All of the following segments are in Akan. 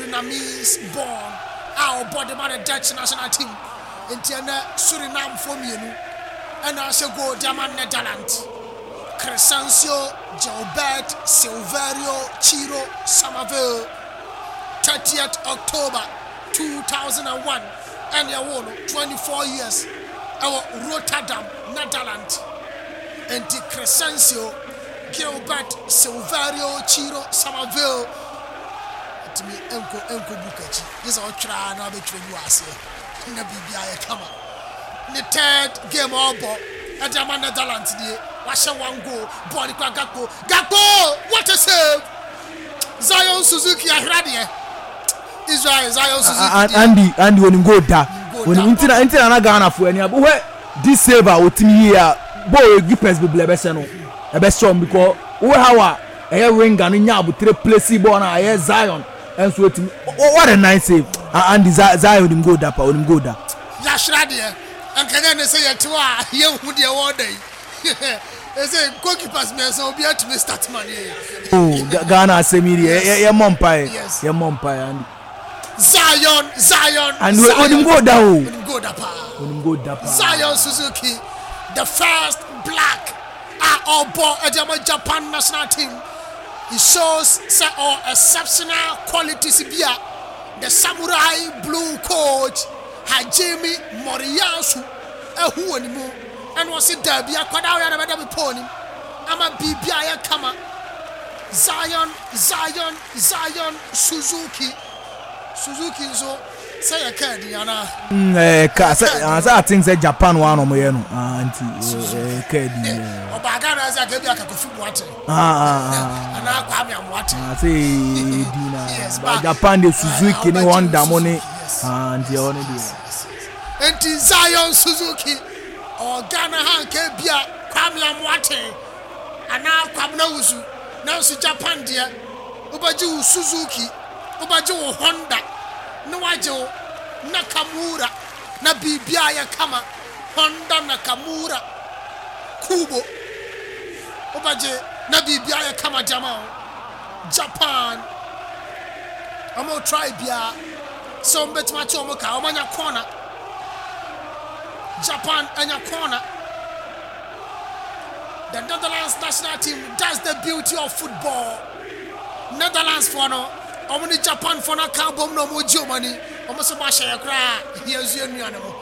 Surinamese born a ɔbɔ de ma the Dutch national team. Nti ɛnɛ Surinamfoɔ mmienu ɛna ahyɛ goal de ama Netherlands. Crescencio Gilbert Silverio Chiro Somerville, 30th October 2001 ɛna ɛwoo no, 24 years, ɛwɔ Rotterdam, Netherlands. Nti Crescencio Gilbert Silverio Chiro Somerville ntumi nkɔ nkɔ book akyi, gye sɛ ɔtwerɛ a na abɛtwerɛ bi wɔ aseɛ na biribi ayɛ kama. Ne third game a ɔbɔ ɛde ama Netherlands nie, wahyɛ one goal. Bɔɔl no kura Gakpo. Gakpo! What a save! Zion Suzuki ahwere adeɛ. Israel Zion Suzuki deɛ. Andy Andy onim goal da. Onim nti na nti na na Ghana fo ani abo hwɛ this save a otimi yie a bɔɔl keepers bebree ɛbɛhyɛ no ɛbɛhyɛ wɔn because wohwɛ how a ɛyɛ winger no nya abotire place bɔɔl no a ɛyɛ Zion ɛnso otimi what a nice save. Andy Zion onim goal da pa, onim goal da. Yɛahwere adeɛ. Nkanyɛ ne sɛ yɛte hɔ a yɛnhu deɛ wɔreda yi. Ɛsɛ goalkeepers mmiɛnsa obi atumi start ma ne yɛ. Oh, Ghana asɛm yi deɛ yɛmmɔ mpaeɛ. Yɛmmɔ mpaeɛ Andy. Zion, Zion, Andy, Zion. Onim goal da o. Onim goal da paa. Onim goal da paa. Zion Suzuki, the first black a ɔbɔ ɛde ama Japan national team. It shows sɛ ɔ exceptional qualities bi a the samurai blue coach Hajime Moriyasu ahu wɔ ne mu. Ɛna ɔse daabi, akwadaa wei a na bɛda me pɔn nim ama biribi ayɛ kama. Zion, Zion, Zion Suzuki. Suzuki nso sɛ yɛ kaa din anaa? Ɛyɛ kaa sɛ sɛ I think sɛ Japan wa na ɔmo yɛ no, ah, nti ɛyɛ kaa din. Ɔbaa Ghana sɛ aka bi aka Kofi Boateng anaa Kwame Amoateng. Sɛ ɛyɛ din na ba Japan de Suzuki ne Honda mo ne, nti ɛhɔ ne deɛ. Nti Zion Suzuki ɔwɔ Ghana ha nka ebia Kwame Amoateng anaa Kwabena Wusu, nanso Japan deɛ wobɛgye wo Suzuki, wobɛgye wo Honda na wagye wo Nakamura na biribiara yɛ kama. Honda Nakamura Kubo wobɛgye na biribiara yɛ kama de ama wo. Japan wɔn try biara sɛ wɔn bɛtumi ate wɔn ka, wɔn anya corner. Japan anya corner. The Netherlands national team, that's the beauty of football. Netherlands foɔ no, wɔn ne Japan foɔ no aka abom na wɔn gye wɔn ani. Wɔn nso bɔ ahyɛ yɛ koraa, yɛn nso yɛn nua no mo,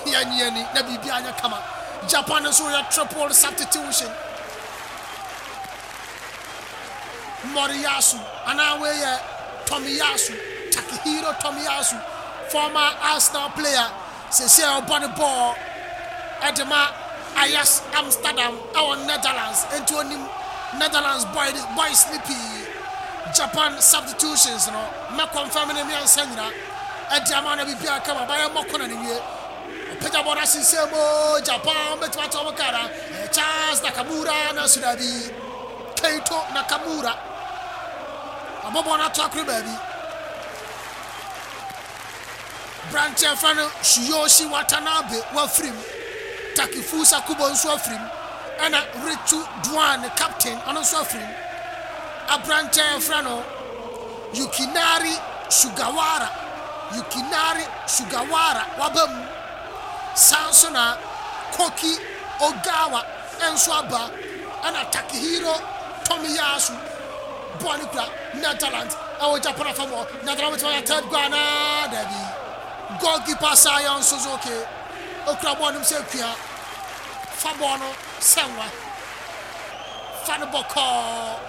yɛn nye ani na biribi anyɛ kama. Japan nso yɛ triple substitution. Moriyasu anaa wei yɛ Tomiyasu, Takehiro Tomiyasu, former Arsenal player, seesei a ɔbɔ ne bɔɔl de ma Ajax Amsterdam wɔ Netherlands, enti onim Netherlands boys no pii. Japan substitutions no, mɛ confirm ne mmiɛnsa nyina de ama na biribiara kama, bayɛ mmɔ kɔna no nwie. Ɔpagya bɔɔl no asensɛn mu, Japan bɛtumi ate wɔn kaa na Charles Nakamura nanso daabi. Keito Nakamura abɔ bɔɔl no ato akoro baabi. Aberanteɛ a yɛfrɛ no Tsuyoshi Watanabe wafiri mu, Takefusa Kubo nso afiri mu, ɛna Ritsu Doan ne captain ɔno nso afiri mu. Aberanteɛ a yɛfrɛ no Yukinari Sugawara, Yukinari Sugawara waba mu. Saa nso na Koki Ogawa nso aba, ɛna Takehiro Tomiyasu bɔɔl no kura Netherlands ɛwɔ Japan afa mu hɔ. Netherlands bɛtumi anya third goal anaa? Dabi. Goalkeeper Zion Suzuki okura bɔɔl no mu sɛ kua. Fa bɔɔl no sɛ nwa. Fa no bɔkɔɔ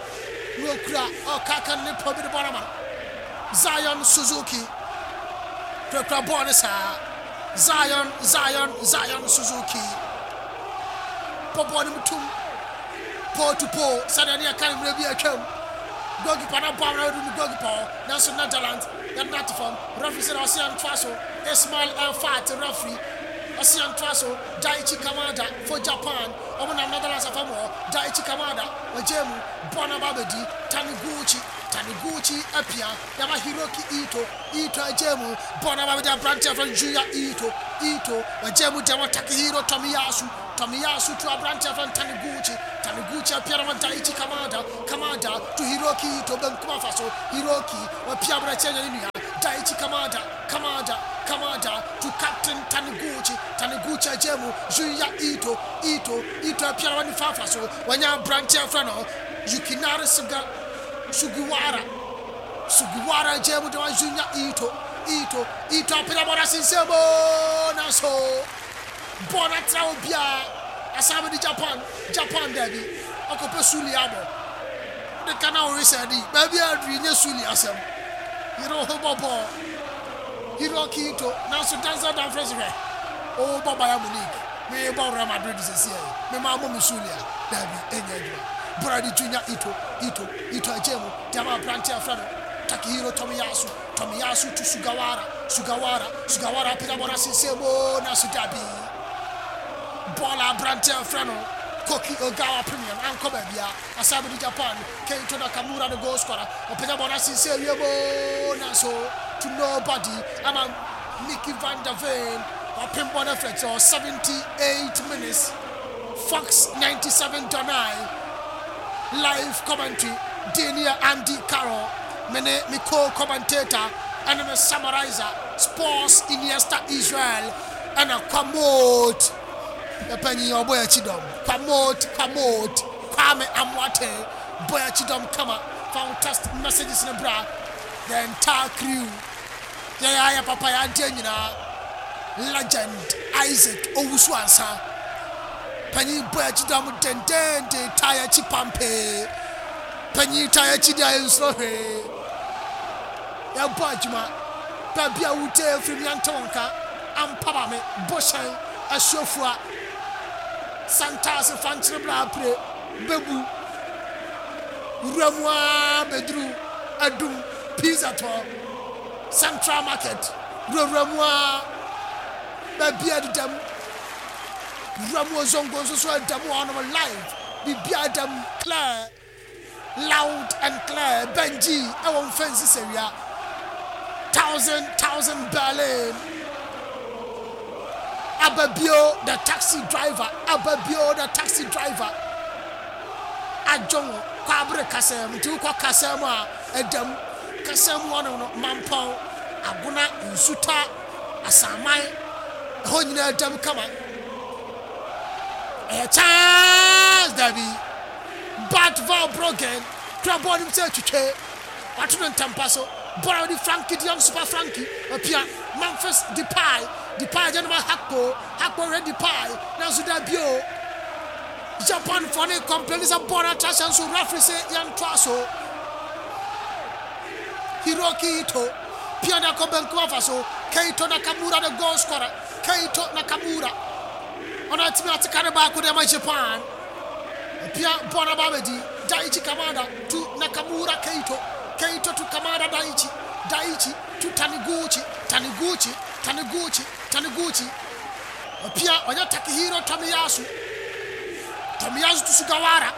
na okura ɔkaka ne pɔ bi de bɔɔl ama no. Zion Suzuki kurakura bɔɔl no saa. Zion, Zion, Zion Suzuki bɔ bɔɔl no mu tum. Pole to pole sɛdeɛ ne yɛka no mmerɛ bi a atwam. Goalkeeper no abɔ amena ɔde no goalkeeper hɔ nanso Netherlands yɛde no ato fam. Referee sɛ na ɔse yɛntoa so. Ismail El Fat referee ɔse yɛntoa so. Daichi Kamada for Japan wɔn nam Netherlands afa mu hɔ. Daichi Kamada wagyae mu bɔɔl no aba abɛdi Taniguchi. Taniguchi apia de ama Hiroki Ito. Ito agyae mu bɔɔl no aba abɛdi aberanteɛ a yɛfrɛ no Junya Ito. Ito wagyae mu de ama Takehiro Tomiyasu. Tomiyasu to aberante a yɛfrɛ no Taniguchi. Taniguchi apia no ama Daichi Kamada. Kamada to Hiroki Ito benkum afa so. Hiroki wapia aberɛkyɛ anya ne nua. Daichi Kamada, Kamada, Kamada to captain Taniguchi, Taniguchi agya mu, Junya Ito, Ito, Ito apia na wani fafa so, wanya aberanteɛ afrɛ no Yukinari Suga, Sugiwara, Sugiwara agya mu de ma Junya Ito, Ito, Ito apia bɔ na sensɛn mu, nanso bɔɔl no atra obiara, asan bɛdi Japan, Japan daabi, ɔkɔpɛ Suli abɔ. Wode ka na wowe sɛ de, baabi a aduru yi nyɛ Suli asɛm. Yere wo ho bɔ bɔɔl. Hiroki Ito, nanso Denzel Dumfries hwɛ, wobɔ Bayern Munich, mebɔ Real Madrid seesei yi, mema wobɔ me Suli a, daabi, ɛnyɛ adwuma. Bɔɔl de Junya Ito, Ito, Ito agyae mu de ama aberante a wɔfrɛ no Takehiro Tomiyasu, Tomiyasu to Sugawara, Sugawara, Sugawara apagya bɔɔl no asensɛn mu, nanso daabi. Bɔɔl a aberante a wɔfrɛ no Koki Ogawa pemeɛ no ankɔ baabiara. Asan bɛdi Japan Keito Nakamura ne goal scorer. Ɔpagya bɔɔl no asensɛn wiem oo, nanso to nobody ama Micky van der Ven wapem bɔɔl no afiri akyire hɔ. 78 minutes, Fox 97.9 live commentary din yɛ Andy Carroll, me ne me co-commentator ɛne me summarizer Sports Iniesta Israel ɛna Kwamot yɛpanyin ɔbɔ yɛn akyi dɔm Kwamot Kwamot Kwame Amoateng bɔ yɛn akyi dɔm kama fa wo text messages no bra the entire crew yɛyɛ ayɛ papa yɛ adeɛ nyinaa legend Isaac Owusu Ansa panyin bɔ yɛn akyi dɔm dendenden taa yɛn akyi pampee panyin taa yɛn akyi deɛ yɛnsuro hwee yɛbɔ adwuma baabi a wotie firi mi ante wo nka ampa ma me bohyɛn asuafua Santase fankyere bra apire bɛbu wura mu ara bɛduru adum pizza tɔ central market wurawura mu ara baabi a deda mu wura mu ozongo nso so ɛda mu hɔnom live biribiara da mu clear Loud and clear Benji ɛwɔ mfɛnsi sɛwia Thousand thousand Berlin Ababio the taxi driver Ababio the taxi driver Adwongo kwabere kasa mu nti wokɔ kasa mu a ɛda mu kasa mu hɔnom no Mampɔn Agona Nsuta Asaman ɛhɔ nyinaa ɛda mu kama ɛyɛ chance dabi Bart Verbruggen kura bɔɔl no mu sɛ twitwe. Wato no ntɛmpa so. Bɔɔl a wɔde Frankie de Jong Super Frankie apia Memphis Depay. Depay agya no ma Gakpo. Gakpo hwɛ Depay nanso dabi o. Japanfoɔ no complain sɛ bɔɔl no atra hyɛn so. Referee se yɛntoa so. Hiroki Ito pia de akɔ benkum afa so. Keito Nakamura the goal scorer. Keito Nakamura ɔno atumi ate ka no baako de ama Japan. Ɔpia bɔɔl no aba abɛdi Daichi Kamada to Nakamura Keito, Keito to Kamada Daichi, Daichi to Taniguchi, Taniguchi, Taniguchi, Taniguchi. Ɔpia ɔnyɛ Takehiro Tomiyasu, Tomiyasu to Sugawara,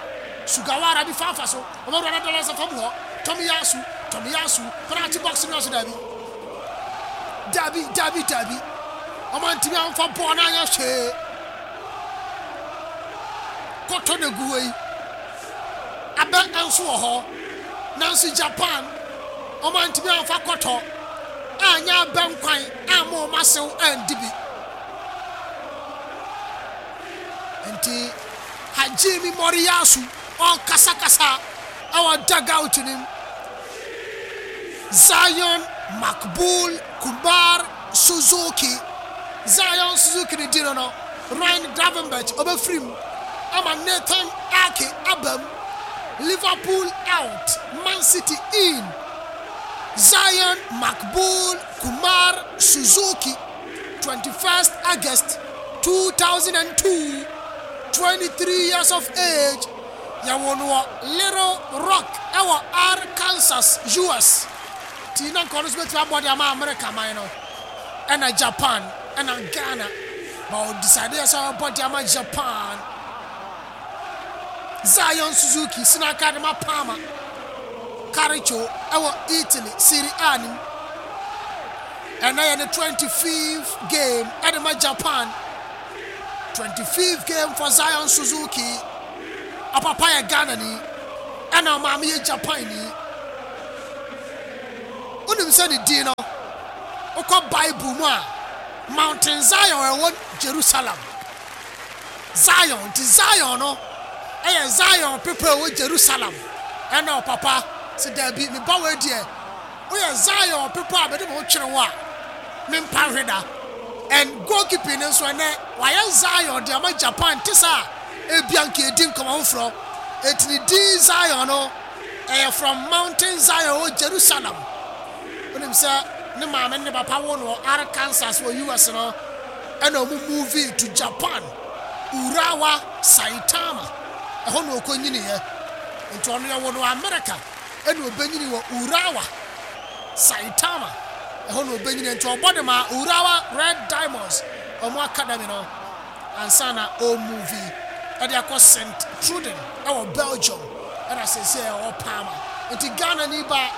Sugawara nifa afa so, ɔbɛwura no dɔla nsa fam hɔ, Tomiyasu, Tomiyasu, penalty box no ase daabi, daabi, daabi, daabi, ɔmantumi amfa bɔɔl no anyɛ hwee. Kɔtɔ na gu hɔ yi, abɛ nso wɔ hɔ. Nanso Japan, wɔantumi amfa kɔtɔ anyɛ abɛ nkwan amma wɔn asew andi bi. Enti Hajime Moriyasu ɔrekasakasa wɔ dugout no mu. Zion Makbul Kumar Suzuki, Zion Suzuki ne din no no, Ryan Gravenberch ɔbɛfiri mu ama Nathan Ake aba mu, Liverpool out, Man City in, Zion Makbul Kumar Suzuki, 21st August 2002, 23 years of age, yɛwoo no wɔ Little Rock wɔ Arkansas, US. Nti na nka ɔno nso bɛtumi abɔ de ama America man no ɛna Japan ɛna Ghana but ɔ decide yɛ sɛ ɔbɔ de ama Japan. Zion Suzuki sina aka de ma Parma Calcio ɛwɔ Italy Serie A no mu. Ɛnɛ yɛ ne 25th game ɛde ma Japan. 25th game for Zion Suzuki. Ɔpapa yɛ Ghana ni ɛna ɔmaame yɛ Japan ni. Wonim sɛ ne din no. Wokɔ Bible mu a, Mountain Zion a ɛwɔ Jerusalem. Zion, nti Zion no yɛ Zion bepɔ a ɛwɔ Jerusalem. Ɛna ɔpapa se, Dabi, me ba wei deɛ, woyɛ Zion bepɔ a mede me ho twere wo a, mempa nhwe da. And goalkeeping no nso ɛnɛ, wayɛ Zion de ama Japan te sɛ a ebia nka yɛdi nkɔmmɔ foforɔ. Enti ne din Zion no, ɛyɛ from Mountain Zion ɛwɔ Jerusalem. Wonim sɛ ne maame ne ne papa woo no wɔ Arkansas wɔ US no, ɛna wɔn movie to Japan, Urawa, Saitama, ɛhɔ na ɔkɔnyiniiɛ. Nti ɔno yɛwoo no wɔ America, ɛna ɔbɛnyini wɔ Urawa, Saitama, ɛhɔ na ɔbɛnyiniiɛ. Nti ɔbɔ de maa Urawa Red Diamonds, wɔn academy no, ansa na ɔremovi de akɔ Sint Truiden wɔ Belgium, ɛna seesei ɔwɔ Parma. Nti Ghanani ba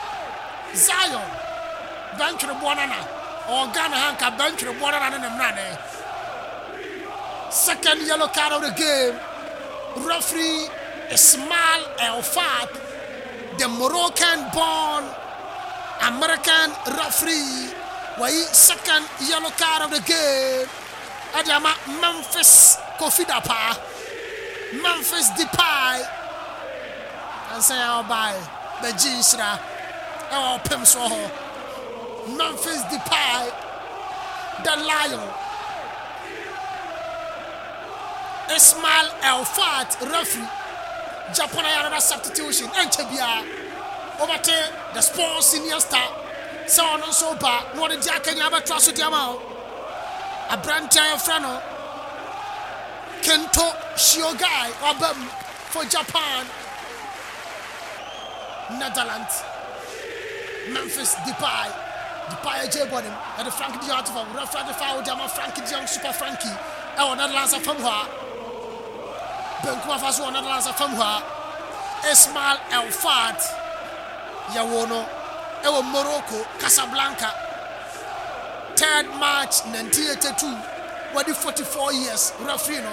Zion Bɛntwereboɔ Nana, ɔwɔ Ghana ha nka Bɛntwereboɔ Nana ne ne mmerane. Second yellow card of the game, referee Ismail El Fat, the Moroccan born American referee, wayi second yellow card of the game ɛde ama Memphis Kofi Dapaa, Memphis Depay, ansa ya ɔbae bɛgye nhyira ɛwɔ ɔpem soɔ hɔ. Memphis Depay, the Lion, Ismail El Fat referee, Japan ayɛ another substitution, ɛnkyɛ biara wobɛte the sports senior star sɛ ɔno nso ba na ɔde di akanya abɛtoa so de ama wo. Aberante a yɛfrɛ no Kento Shiogai waba mu for Japan. Netherlands Memphis Depay Depay agye bɔ ne mu ɛde Frank de Jong ato fam. Referee de foul de ama Frank de Jong Super Frankie ɛwɔ Netherlands afam hɔ a benkum afa so wɔ Netherlands afam hɔ a Ismail El Fat yɛwoo no ɛwɔ Morocco Casablanca 3rd March 1982 wadi 44 years. Referee no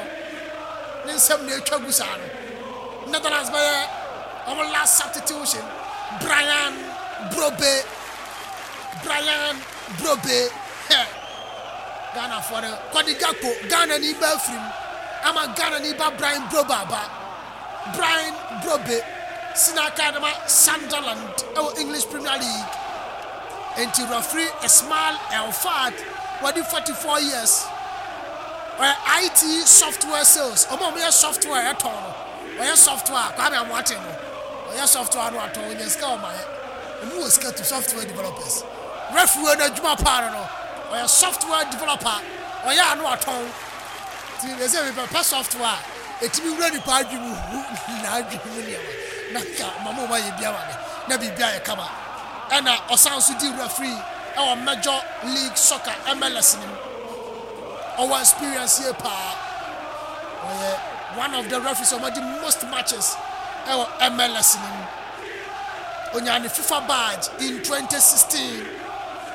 ne nsɛm na atwa gu saa no. Netherlands bɛyɛ wɔn last substitution. Brian Brobe, Brian Brobe, hɛ Ghanafoɔ no Kwadi Gakpo, Ghana ni ba afirim ama Ghana ni ba Brian Brobe aba. Brian Brobe si n'aka de ma Sunderland wɔ English Premier League. Enti referee Ismail El Fad wadi 44 years. Ɔyɛ IT software sales. Wɔn a wɔyɛ software ɛtɔn no. Ɔyɛ software Kwame Amoateng no. Ɔyɛ software no atɔn onya sika ɔma yɛ. Wɔn wɔ sika tu software developers. Referee wɔ n'adwuma paa no no. Ɔyɛ software developer. Ɔyɛ ano atɔn. Nti mepɛ sɛ mepɛ software a ɛtumi wura nipa adwene mu hu n'adwene mu nneɛma na nka mama wɔn ayɛ bi ama me na biribi ayɛ kama. Ɛna ɔsan nso di referee ɛwɔ Major League Soccer, MLS, no mu. Ɔwɔ experience yie paa. Ɔyɛ one of the referees a wɔadi most matches ɛwɔ MLS no mu. Onyaa ne FIFA badge in 2016.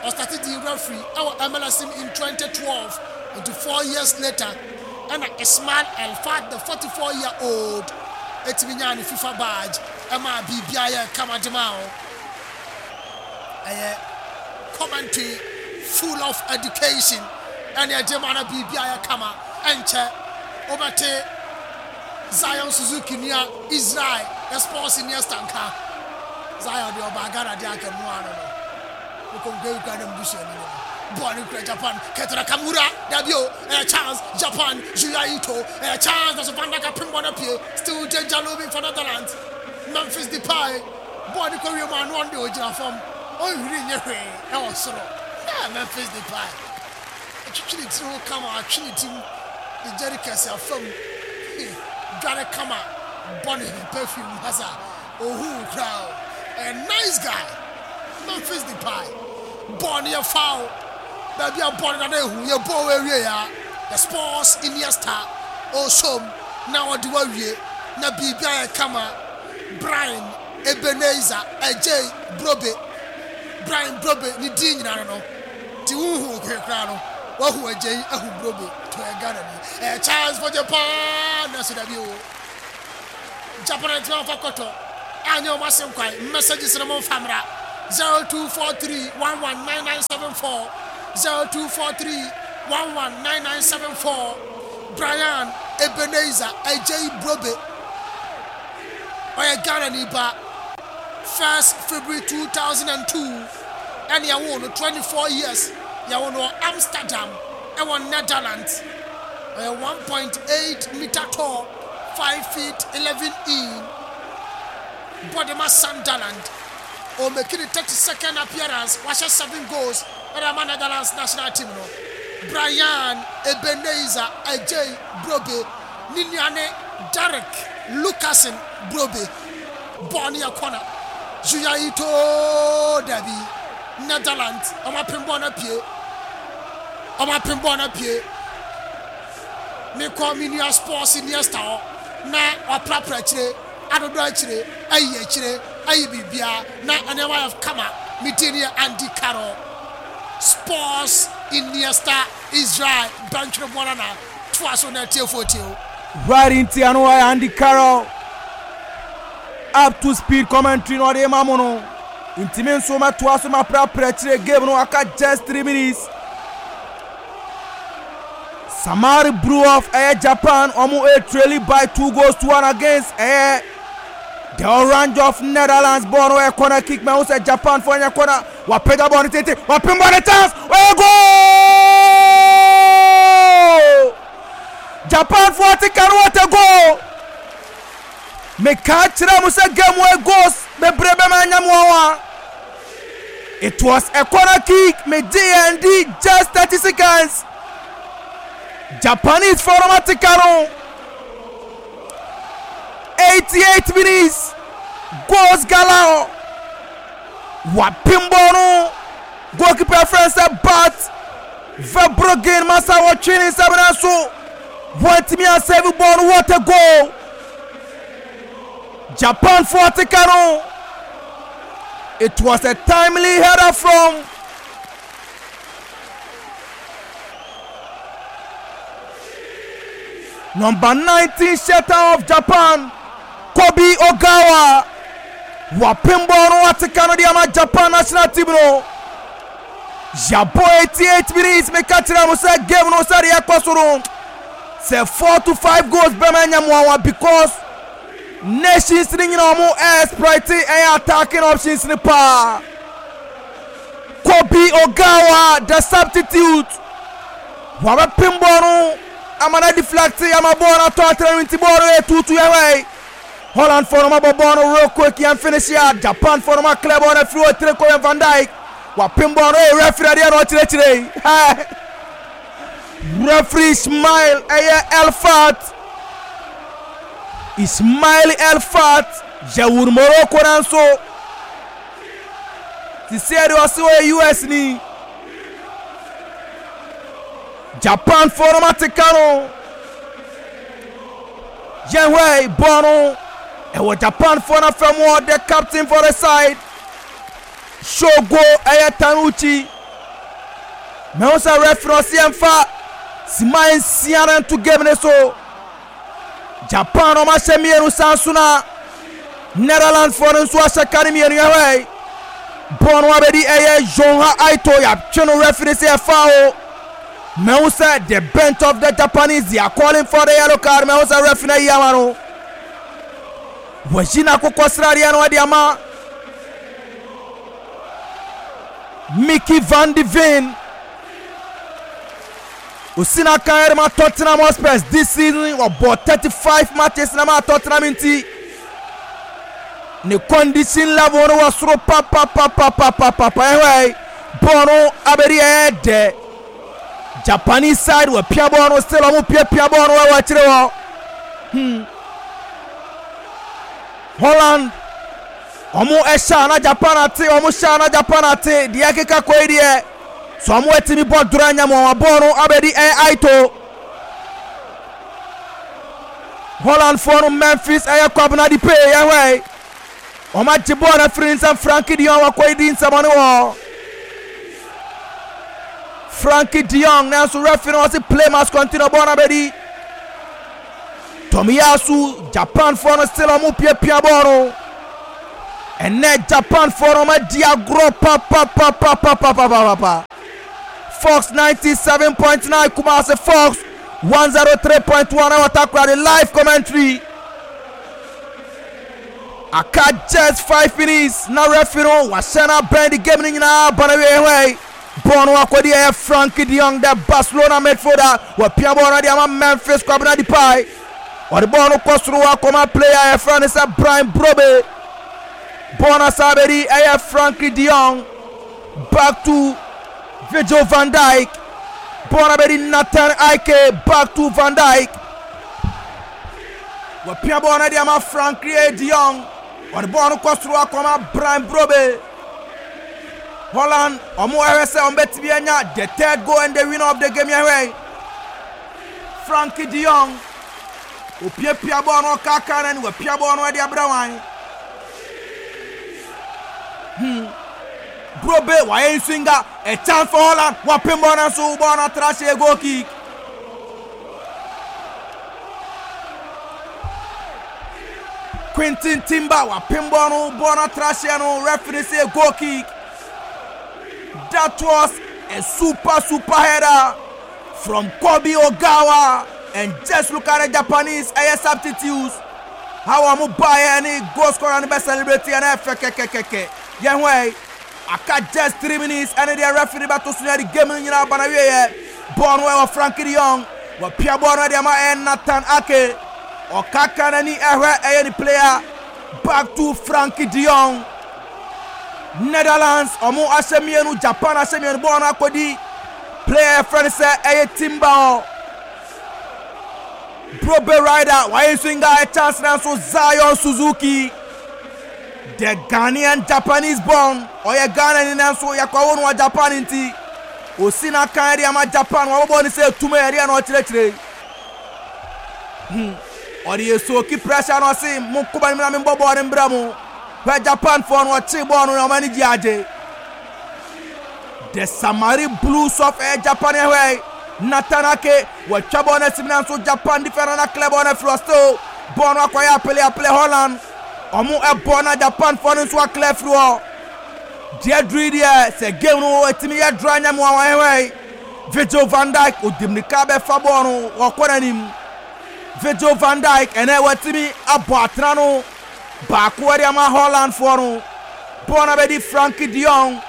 Ɔstate dii referee ɛwɔ MLS mu in 2012. Nti 4 years later ɛna Ismail El Fad, the 44 year old, ɛtumi nyaa ne FIFA badge ɛmaa biribiara yɛ kama de maa wo. Ɛyɛ commentary full of education ɛne ɛgye ma na biribiara yɛ kama. Ɛnkyɛ wobɛte Zion Suzuki nua Israel the sports senior nka Zion deɛ ɔbaa Ghana deɛ anka mu ano no mokonko kura na mbusuani no bɔɔl no kura Japan. Keito Nakamura, dabi o, ɛyɛ chance Japan. Juya Ito, ɛyɛ chance na so Van Dijk apem bɔ no pie. Still danger looming for Netherlands. Memphis Depay, bɔɔl no kɔ wiem ano ɔno deɛ ɔgyina fam ɔnhwiri nyɛ hwee ɛwɔ soro. Memphis Depay atwitwi ne tiri ho kama, atwe ne ti mu de jerry kɛse afam dware kama, bɔ ne perfume hasa ohu koraa o. Ɛyɛ nice guy Memphis Depay. Bɔɔl no yɛ foul baabi a bɔɔl no dada ehu yɛ bɔɔl wɔ awie ya the sports Iniesta ɔsom na ɔde wawie na biribi ayɛ kama. Brian Ebenezer Adjei Brobe, Brian Brobe ne din nyinaa no ti huhu hwee koraa no wahu Adjei ahu Brobe to ɛyɛ Ghana ni. Ɛyɛ chance for Japan na so dabi o, Japan antumi amfa kɔtɔ anyɛ wɔn ase nkwan. Messages no momfa mmra 0243 119974. 0243 119974 Brian Ebenezer Adjei Brobe ɔyɛ Ghanani ba 1st February 2002 ɛne yɛwoo no 24 years yɛwoo no wɔ Amsterdam ɛwɔ Netherlands ɔyɛ 1.8 meter tall 5 feet 11 in bɔde ma Sunderland ɔmake ne 32nd appearance wahyɛ 7 goals ɛde ama Netherlands national team no. Brian Ebenezer Adjei Brobe ne nua ne Derek Lucassen Brobe. Bɔɔl no yɛ corner. Junya Ito dabi. Netherlands ɔmo apem bɔɔl no apue. Ɔmo apem bɔɔl no apue. Mekɔ me nua Sports Iniesta hɔ na waprapra akyire, adodɔ akyire, ayi akyire, ayi biribiara na nneɛma ayɛ kama. Me din yɛ Andy Carroll. Sports Iniesta Israel bɛntwere bɔɔl ana toa so na atiefoɔ tie o. Right nti ano ɔyɛ Andy Carroll up to speed commentary na ɔde ma mo no nti me nso mɛtoa so maprapra akyire game no aka just 3 minutes. Samari Brew of ɛyɛ Japan ɔmo ɛtrailing by 2 goals to 1 against ɛyɛ the Orange of Netherlands. Ball no ɛyɛ corner kick ma ho sɛ Japan fo ɛnyɛ corner wapagya ball no tete wapem ball no chance ɔyɛ goal. Japan fo ate ka no what a goal. Meka kyerɛ mo sɛ game wɔ goals bebree bɛma anya mo awa. It was a corner kick me gye yɛn di just 30 seconds. Japanese fo no ate ka no 88 minutes goals galore. Wapem ball no goalkeeper friend sɛ Bart Verbruggen masa wɔtwe ne nsam nanso wɔntumi asave ball no. What a goal. Japan fo ate ka no. It was a timely header from number 19 shutter of Japan, Kobe Ogawa. Wapem ball no ate ka no de ama Japan national team no. Yabɔ 88 minutes meka kyerɛ mo sɛ game no sɛdeɛ ɛkɔ so no sɛ 4 to 5 goals bɛma anya mo awa because nations ni nyina ɔmo exploit ɛyɛ attacking options ni paa. Kobe Ogawa the substitute wabɛpem ball no ama na deflect ama ball no atɔ atena no nti ball no yɛ tutu yɛhwɛ Holland fo no mabɔ ball no real quick yɛn finish a Japan fo no ma clear ball no afiri hɔ tire kɔ yɛn Van Dijk wapem ball no ɛyɛ referee adeɛ na ɔkyerɛkyerɛ yi referee Ismail ɛyɛ Elfat Ismail Elfat yɛwur Morocco nanso te sɛ deɛ ɔse ɔyɛ US ni. Japan fo no mate ka no yɛhwɛ bɔɔl no ɛwɔ Japan fo no afɛ mu hɔ the captain for the side Shogo ɛyɛ Tanuchi mehu sɛ referee ɔse yɛmfa sima nsia no nto game ne so. Japan ɔmo ahyɛ mmienu san so na Netherlands foɔ no nso ahyɛ ka no mmienu yɛhwɛ bɔɔl no abɛdi ɛyɛ Jonha Aito yɛatwe no referee sɛ ɛfa o mehu sɛ the bench of the Japanese they are calling for the yellow card mehu sɛ referee no ayi ama no wɔyi n'akokɔ sradeɛ no ɔde ama Mickey van de Ven Osina kan ɛde ma Tottenham Hotspurs this season wɔbɔ 35 matches na ma Tottenham nti ne condition level no wɔ soro papapapapapapa ɛhɔ bɔɔl no abɛdi ɛyɛ dɛ Japanese side wɔpia bɔɔl no still ɔmo piapia bɔɔl no ɛwɔ akyire hɔ. Holland ɔmo ɛhyɛ ana Japan ate ɔmo hyɛ ana Japan ate deɛ ɛkeka kɔ yi deɛ so ɔmo ɛtumi bɔ doro anya mu ɔmo bɔɔl no abɛdi ɛyɛ Aito. Holland foɔ no Memphis ɛyɛ Kwabena Depay yɛhwɛ ɔmo agye bɔɔl no afiri ne nsam Frankie de Jong wakɔ yi di nsɛm ɔne wɔ Frankie de Jong nanso referee no ɔse play must continue bɔɔl no abɛdi Tomiyasu. Japan foɔ no still ɔmo piapia bɔɔl no ɛnɛ Japan foɔ no ɔmo adi agorɔ papapapapapapapa. Fox 97.9 Kumasi, Fox 103.1 ɛwɔ Takoradi. Live commentary. Aka just 5 minutes na referee no wahyɛ no abɛn de game no nyinaa ba na wie. Hɔ yi bɔɔl no akɔdi ɛyɛ Frenkie de Jong, the Barcelona midfielder. Wapia bɔɔl no de ama Memphis Kwabena Depay. Ɔde bɔɔl no kɔ soro akɔma player yɛfrɛ no sɛ Brian Brobbey. Bɔɔl no asa abɛdi ɛyɛ Frenkie de Jong, back to Virgil van Dijk. Bɔɔl no abɛdi Nathan Ake, back to Van Dijk. Wapia bɔɔl no de ama Frenkie de Jong. Ɔde bɔɔl no kɔ soro akɔma Brian Brobbey. Holland ɔmo ɛhwɛ sɛ ɔmo bɛtumi anya the third goal and the winner of the game. Yɛhwɛ Frenkie de Jong, opiapia bɔɔl no, ɔkaaka n'ani, wapia bɔɔl no de abrɛ wan Brobbey. Wayɛ nswinga, a chance for Holland. Wapem bɔɔl no nso bɔɔl no atra hyɛ, goal kick. Quinton Timber wapem bɔɔl no, bɔɔl no atra hyɛ no, referee say goal kick. That was a super super header from Kobe Ogawa, and just look at the Japanese ɛyɛ substitutes, how wɔn baayɛ ne goal scorer no bɛ celebrate ɛna ɛfɛ kɛkɛkɛkɛ. Yɛn ho ɛ aka just 3 minutes ɛne deɛ referee bɛto so yɛ de game no nyinaa ba na wieɛ. Bɔɔl no ɛwɔ Frenkie de Jong. Wɔpia bɔɔl no de ama ɛyɛ Nathan Ake. Ɔkaka n'ani ɛhwɛ ɛyɛ ne player, back to Frenkie de Jong. Netherlands ɔmo ahyɛ mmienu, Japan ahyɛ mmienu. Bɔɔl no akɔdi player yɛfrɛ no sɛ ɛyɛ Timber hɔ. Brobbey rider wayɛ swinga, a chance na nso Zion Suzuki, the Ghanaian Japanese born, ɔyɛ Ghana ni nanso yɛkɔwo no wɔ Japan nti osi n'akan de ama Japan. Wɔbɔbɔ ne sɛ tume ɛdeɛ na ɔkyerɛkyerɛ ɔde yɛ soki pressure na ɔse mo kɔba no mu na membɔ bɔɔl no mbrɛ mo. Hwɛ Japan foɔ no, ɔkye bɔɔl no na ɔma no gye agye. The Samari Blues of Japan. Ɛhwɛ Nathan Ake, wɔatwa bɔɔl no asim nanso Japan defender na clear bɔɔl no afiri hɔ. Still bɔɔl no akɔyɛ apele apele. Holland ɔmo ɛbɔ na Japan foɔ no nso aclear afiri hɔ. Deɛ duru yi deɛ sɛ game no ɛtumi yɛ draw nyɛ mu a wɔn. Ɛhwɛ Virgil van Dijk, odi mirika bɛfa bɔɔl no, wɔkɔ n'anim. Virgil van Dijk ɛnɛ wɔatumi abɔ atena no baako ɛde ama Holland foɔ no. Bɔɔl no abɛdi Frenkie de Jong.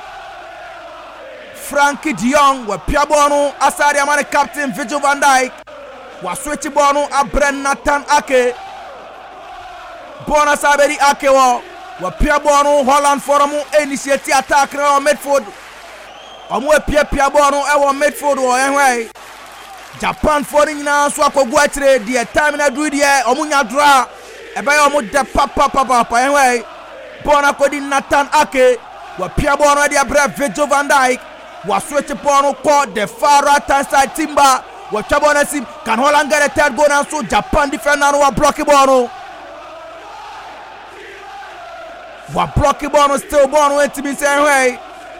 Frenkie de Jong wapia bɔɔl no asa de ama ne captain Virgil van Dijk. Waswitch bɔɔl no abrɛ Nathan Ake. Bɔɔl no asa abɛdi Ake wɔ. Wapia bɔɔl no. Holland foɔ no mo initiate attack no wɔ midfield. Ɔmo apiapia bɔɔl no ɛwɔ midfield wɔ. Ɛhwɛ Japan foɔ no nyinaa nso akɔgu akyire. Deɛ time no aduru deɛ ɔmo nya draw ɛbɛyɛ ɔmo dɛ papapapapa. Ɛhwɛ bɔɔl no akɔdi Nathan Ake. Wapia bɔɔl no de abrɛ Virgil van Dijk. Waswitch bɔɔl no kɔ the far right hand side. Timber wɔtwa bɔɔl no asim. Can Holland get a third goal? Nanso Japan defender no wablock bɔɔl no, wablock bɔɔl no. Still bɔɔl no ntumi sɛ. Ɛhwɛ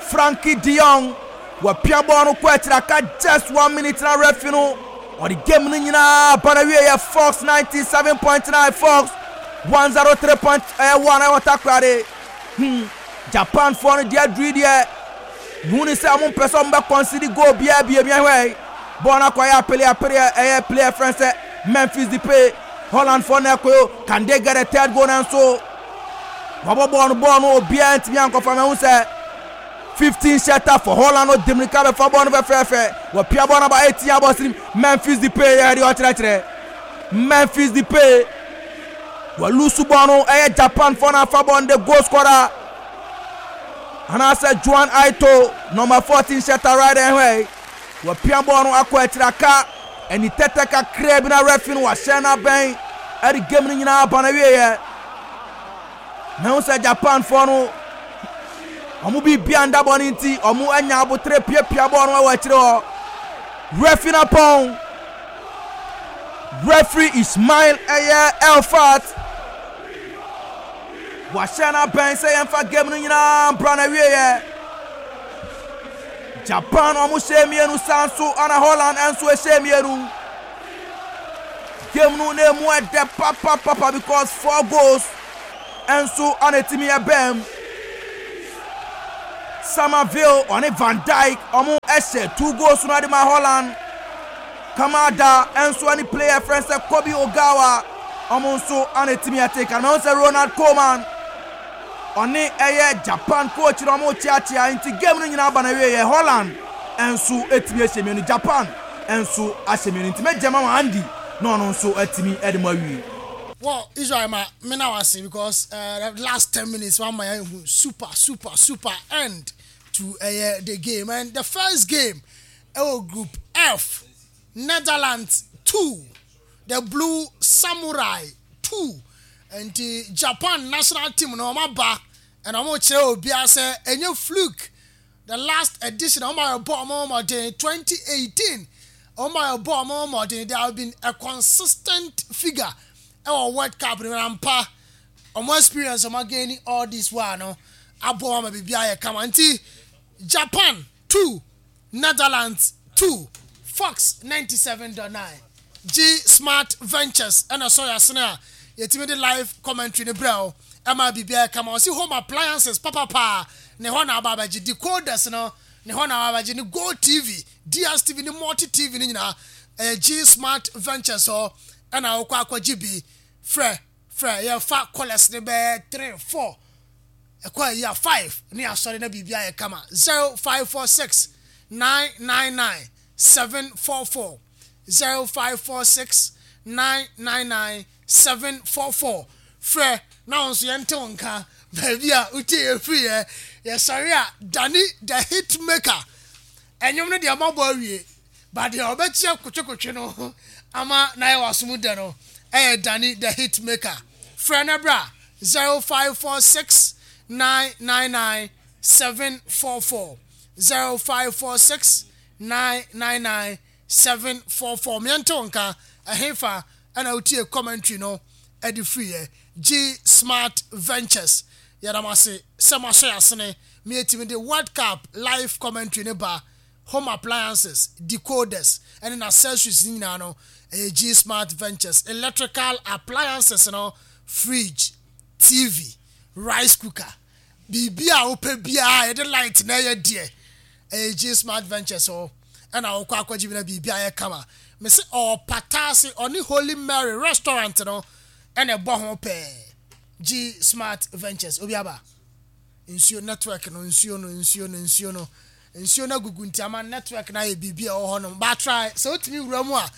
Frenkie de Jong, wapia bɔɔl no kɔ akyire. Aka just one minute na referee no ɔde game no nyinaa ba na wie. Yɛ Fox 97.9, Fox 103.1 ɛwɔ Takoradi. Japan foɔ no deɛ aduru deɛ hu ne sɛ ɔmo mpɛ sɛ ɔmo bɛ concede goal biara bie mi. Ɛhwɛ bɔɔl no akɔyɛ apele apele, ɛyɛ player frɛn sɛ Memphis Depay. Holland foɔ no ɛkɔyo, can they get a third goal? Nanso wɔbɔ bɔɔl no, bɔɔl no obiara ntumi ankɔfa. Mɛhu sɛ 15 shutter for Holland no di mirika bɛfa bɔɔl no fɛfɛɛfɛ. Wɔpia bɔɔl no aba 18 abɔ sirim. Memphis Depay yɛ deɛ ɔkyerɛkyerɛ. Memphis Depay wɔlose bɔɔl no, ɛyɛ Japan foɔ no afa bɔɔl no. The goal scorer anaasɛ Juan Aito, number 14 shutter right. Ɛhwɛ wɔpia bɔɔl no akɔ akyire. Aka ɛni tɛtɛ kakra bi na referee no wahyɛ no abɛn ɛde game no nyinaa ba na wieɛ. Mehu sɛ Japan foɔ no ɔmo biribia nda bɔ no nti ɔmo anya abotere piapia bɔɔl no wɔ akyire hɔ. Referee na pɔn, referee Ismail ɛyɛ Elfat wahyɛ no abɛn sɛ yɛmfa game no nyinaa mbra na wieɛ. Japan ɔmo hyɛ mmienu, san so ana Holland nso hyɛ mmienu. Game no na emu ɛdɛ papapapa because four goals nso ana etimi ɛbɛn. Summerville ɔne Van Dijk ɔmo ɛhyɛ 2 goals no ade ma Holland. Kamada nso ne player frɛ sɛ Kobe Ogawa ɔmo nso ana etimi ɛte kan. Mɛho sɛ Ronald Koeman ɔne ɛyɛ Japan coach na ɔmo kyeakyea, nti game no nyinaa ba na wie yɛ Holland nso etimi ahyɛ 2, Japan nso ahyɛ 2, nti mɛgye ma Andy na ɔno nso atumi ɛde mo awie. Well, Israel ma me na wase because the last 10 minutes one my super super super end to the game. And the first game, Group F, Netherlands 2, the Blue Samurai 2. And the Japan national team no ɔmo aba and ɔmo kyerɛ obiara sɛ ɛnyɛ fluke. The last edition ɔmo ayɛ bɔ ɔmo ɔmɔden 2018, ɔmo ayɛ bɔ ɔmo ɔmɔden. They have been a consistent figure ɛwɔ World Cup no ampa. Ɔmo experience ɔmo again all this while no aboɔ ama biribi ayɛ kama. Nti Japan 2, Netherlands 2. Fox 97.9, G Smart Ventures ɛna sɔ yasene a yɛtumi de live commentary ne brɛ o ɛma biribi ayɛ kama. Ɔsi home appliances papapaa ne hɔ na aba abɛgye decoders no, ne hɔ na aba abɛgye ne Go TV, DStv ne Multi TV ne nyinaa. Ɛyɛ G Smart Ventures hɔ ɛna wokɔ akɔgye bi. Frɛ frɛ, yɛfa callers ne bɛyɛ 3, 4, ɛkɔ ayi a 5 ne asɔre na biribi ayɛ kama. 0546 999 744, 0546 999 744. Frɛ na wɔn nso yɛnte wɔn nka baabi a wotie yɛ firi. Yɛ yɛsɔre a, Dani the Hit Maker ɛnwom no deɛ ɔmabɔ awie ba deɛ ɔbɛkyia kotwekotwe no ama na yɛ wasom dɛ no. Ɛyɛ Dani the Hit Maker. Frɛ no bra, 0546 999 744, 0546 999 744. Mmiɛnte wo nka ɛhefa ɛna wotie commentary no ɛde firiɛ. G Smart Ventures, yɛdam ase sɛ moahyɛ yɛasene meyɛtumi de World Cup live commentary ne ba. Home appliances, decoders ɛne accessories ne nyinaa no, ɛyɛ G Smart Ventures. Electrical appliances no, fridge, TV, rice cooker, biribi a wopɛ biara yɛde light na ɛyɛ deɛ, ɛyɛ G Smart Ventures hɔ ɛna wokɔ akɔgye bi na biribi ayɛ kama. Mese ɔpata ase ɔne Holy Mary Restaurant no ɛna ɛbɔ ho pɛɛ. G Smart Ventures. Obi aba nsuo network no, nsuo no, nsuo no, nsuo no, nsuo no agugu nti ama network no ayɛ biribi a ɛwɔ hɔ nom. Baatra sɛ wotumi wura mu a,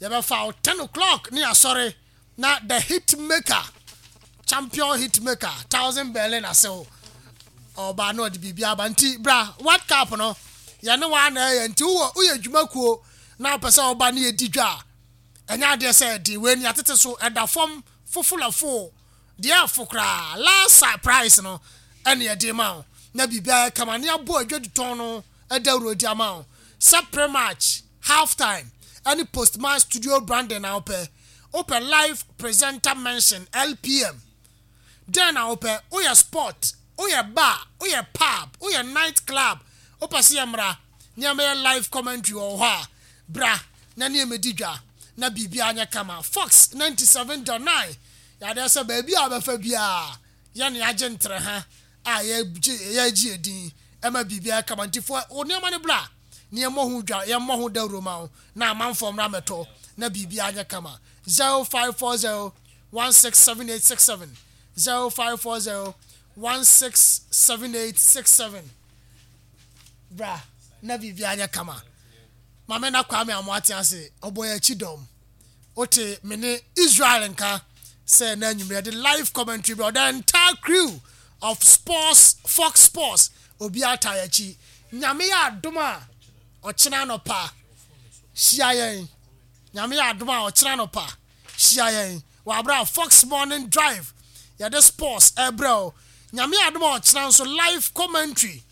yɛbɛfa wo 10 o'clock ne asɔre na the Hit Maker, champion hit maker, Thousand Berlin ase hɔ ɔbaa na ɔde biribi aba. Nti bra, World Cup no yɛne wa na ɛyɛ. Nti wowɔ woyɛ dwumakuo na wopɛ sɛ ɔba ne yɛdi dwa a, ɛnyɛ adeɛ sɛ ɛde wei ni atete so ɛda fam fofolafo deɛ ɛfo koraa. Last price no ɛne ɛde ma wo na biribi ayɛ kama ne abɔ adwadutɔn no ɛda wuro di ama wo sɛ pre-match, half time ɛne post match studio branding na wopɛ. Wopɛ live presenter mention, LPM, den na wopɛ. Woyɛ sport, woyɛ bar, woyɛ pub, woyɛ night club, wopɛ sɛ yɛ mmra nneɛma yɛ live commentary wɔ hɔ a, bra na nneɛma di dwa na biribi anyɛ kama. Fox 97.9 yadeɛ sɛ baabi a wobɛfa biara yɛne agye ntere ha a yɛgye yɛgye edin ɛma biribi ayɛ kama. Nti fo wo nneɛma no bra na yɛmmɔ ho dwa, yɛmmɔ ho dawuro ma wo na amanfoɔ mmra mɛtɔ na biribi anyɛ kama. 0540 167867, 0540 167867. Bra na biribi anyɛ kama. Maame na Kwame Amoate ase ɔbɔ yɛn akyi dɔm. Wote me ne Israel nka sɛ na anwummerɛ de live commentary bi. The entire crew of sports, Fox Sports, obiara taa yɛn akyi. Nyame yɛ adom a, ɔkyena anɔpa hyia yɛn. Nyame yɛ adom a, ɔkyena anɔpa hyia yɛn wɔ abere a Fox Morning Drive yɛde sports ɛbrɛ o. Nyame yɛ adom a, ɔkyena nso live commentary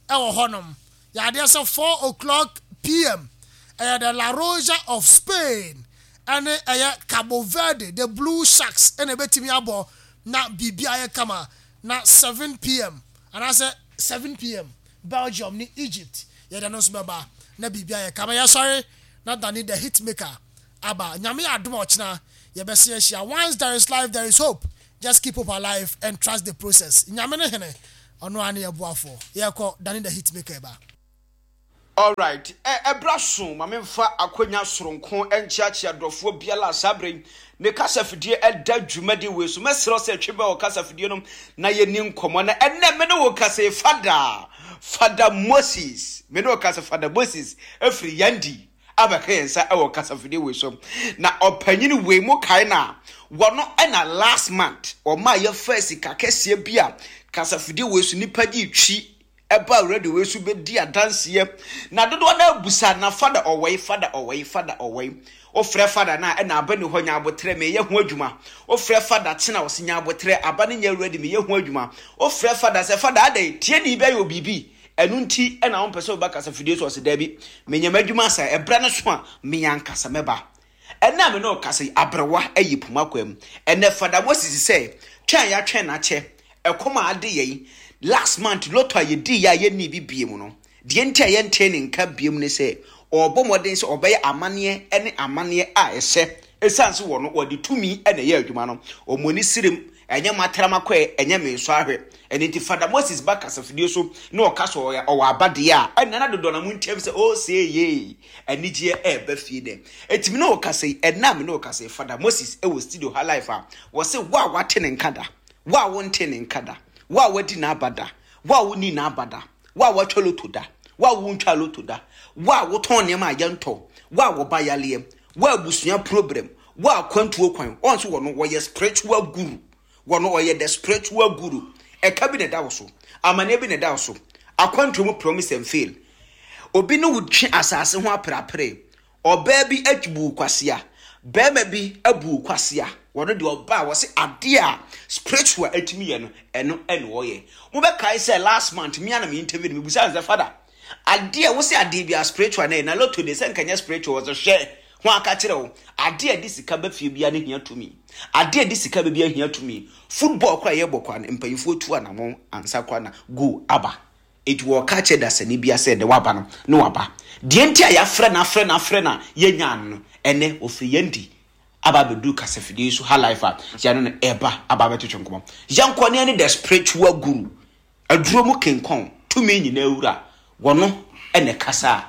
ɛwɔ hɔnom. Yɛadeɛ sɛ 4 o'clock pm ɛyɛ the La Roja of Spain ɛne ɛyɛ Cabo Verde, the Blue Sharks, ɛna ɛbɛtumi abɔ na biribi ayɛ kama. Na 7 pm anaasɛ 7 pm Belgium ne Egypt, yɛde no nso bɛba na biribi ayɛ kama. Yɛsɔre na Dani the Hit Maker aba. Nyame yɛ adom a, ɔkyena yɛbɛse ahyia. Once there is life, there is hope. Just keep hope alive and trust the process. Nyame ne hene. Ɔno ara ne yɛn boafoɔ. Yɛrekɔ, Danny the Hitmaker reba. Alright, ɛ, ɛberɛ aso ma memfa akwanya soronko nkyeakyea dɔfoɔ biara a saa berɛ yi ne kasafidie ɛda dwumadi wei so. Mɛsrɛ wo sɛ twe bɛn wɔ kasafidie no na yɛnni nkɔmmɔ. Na ɛnnɛ me ne wo kasa yi, Fada, Fada Moses, me ne wo kasa, Fada Moses ɛfiri Yandi abɛka yɛn nsa wɔ kasafidie wei so. Na ɔpanyin wei mo kae no a, wɔno ɛna last month wɔmaa yɛfaa sika kɛseɛ bi a kasafidie wei so nipa gye twi ɛbaa radio wei so bɛdi adanseɛ. Na dodoɔ no abusa na fada ɔwɔe, fada ɔwɔe, fada ɔwɔe. Wofrɛ fada no a ɛna aba ni hɔ nya abotrɛ meyɛ ho adwuma. Wofrɛ fada kyena ɔse nya abotrɛ aba no nyɛ ready meyɛ ho adwuma. Wofrɛ fada sɛ fada adɛn tieni bi ayɛ obibi ɛno nti ɛna wompɛ sɛ woba kasafidie so ɔse daabi menyɛ m'adwuma asa ɛberɛ no so a me ankasa mɛba. Ɛnnɛ a me ne wo kasa yi, aberewa ayi poma kwa mu. Ɛnnɛ Fada Moses sɛ, twɛn a yɛatwɛn no akyɛ, ɛkɔm a ade yɛn, last month lotto a yɛdiiɛ a yɛnnii bi biom no, deɛ nti a yɛntee ne nka biom ne sɛ, ɔrebɔ mmɔden sɛ ɔbɛyɛ amanneɛ ne amanneɛ a ɛsɛ, ɛsiane sɛ wɔno wɔde tumi na ɛyɛ adwuma no, wɔn ani serem, ɛnyɛ matra makɔɛ, ɛnyɛ mensɔ ahwɛ. Ɛno nti Fada Moses ba kasafidie so na ɔka sɛ ɔyɛ ɔwɔ aba deɛ a, ɛnna na dodoɔ no ara monteam sɛ, Osee yee! Anigyeɛ ɛreba fie dɛ. Enti me ne wo kasa yi, ɛnnɛ a me ne wo kasa yi, Fada Moses wɔ studio ha live a, wɔse wo a woate ne nka da, wo a wontee ne nka da, wo a woadi n'aba da, wo a wonnii n'aba da, wo a woatwa loto da, wo a wontwaa loto da, wo a wotɔn nneɛma a yɛntɔ, wo a wo ba yareɛ, wo a abusua problem, wo a akwantuo kwan, wɔn nso wɔ no, wɔyɛ spiritual guru. Wɔ no ɔyɛ the spiritual guru. Ɛka bi na ɛda wo so. Amaneɛ bi na ɛda wo so. Akwantuo mu promise and fail. Obi ne wo twe asase ho aperapere. Ɔbaa bi abu wo kwasea. Barima bi abu wo kwasea. Wɔno deɛ ɔbaa wɔse adeɛ a spiritual atumi yɛ no ɛno ɛna ɔyɛ. Mobɛkae sɛ last month me ara na me interview no mebusaa no sɛ father Adeɛ wo se adeɛ biara spiritual na yɛ na lotto deɛ sɛ nka nyɛ spiritual wɔsɛ hwɛ ho aka kyerɛ wo adeɛ a ɛde sika ba fie biara no hia tumi adeɛ a ɛde sika ba biara hia tumi football koraa yɛbɔ koraa no mpanyinfoɔ tu anamɔn ansa koraa na goal aba eti wɔka kyerɛ dasani biara sɛ ɛdɛ waba no ne waba deɛ nti a yɛafrɛ no afrɛ no afrɛ no a yɛnyaa no no ɛnɛ ofiri yɛn di aba abɛduru kasafidie yi so ha life a yɛne no ɛba aba abɛtwetwe nkɔmmɔ yɛnkɔ ne ɛne the spiritual guru Aduro mu kenkɔn, tumi nyinaa wura, wɔno na ɛkasa